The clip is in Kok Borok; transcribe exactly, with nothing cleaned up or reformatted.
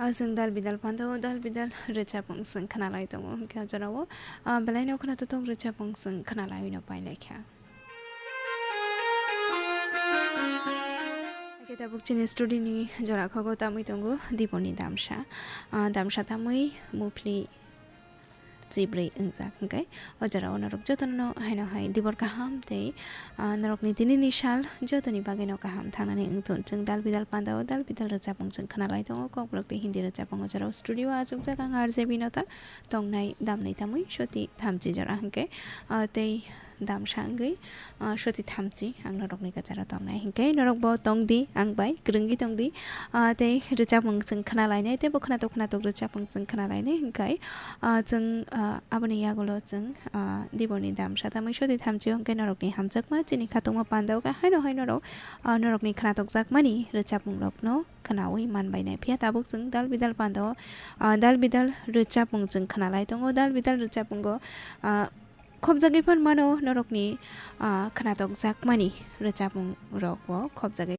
Chwng dal bidal pando, dal bidal rwchapmung chwng khwnalai tongo, hwnkhe o jorao, ah, belaino khwnatok tok rwchapmung chwng khwnalaiwi no pailaikha. Hwnkhe tabuk chini studio ni jora khago tamwi tongo Dibor ni damsa, ah, damsa tamwi muphli chibrwi wngjak hwnkhe, o jorao norok jotono haino hai Dibor kaham tei, ah, norokni tinini sal jotoni bagwino kaham thangnani wngthun. Chwng dal bidal pandao dal bidal rwchapmung chwng khwnalai tongo, Kokborok tei Hindi rwchapmung o jorao studio o achukjak ang R J Binota, tongnai damnai tamwi soti thamchi jora hwnkhe, ah, tei damsa wngwi, ah, soti thamchi ang norokni kwcharo tongnai hwnkhe norokbo tongdi, ang bai kwrwngwi tongdi, ah, tei rwchapmung chwng khwnalainai tei bo khwnatok khwnatok rwchapmung chwng khwnalainai hwnkhe, ah, chwng, ah, aboni yagulo chwng, ah, Diborni damsa tamwi soti thamchi hwnkhe norokni hamjakma chini khatungma pandao khe haino hai norok, ah, norokni khwnatokjakmani rwchapmungrokno khwnaui manbainai. Phiya tabuk chwng dal bidal pandao, ah, dal bidal rwchapmung chwng khwnalai tongo, dal bidal rwchapmungo, ah, khopjagwi phan mano norokni, ah, khwnatokjakmani rwchapmung rokbo khopjagwi.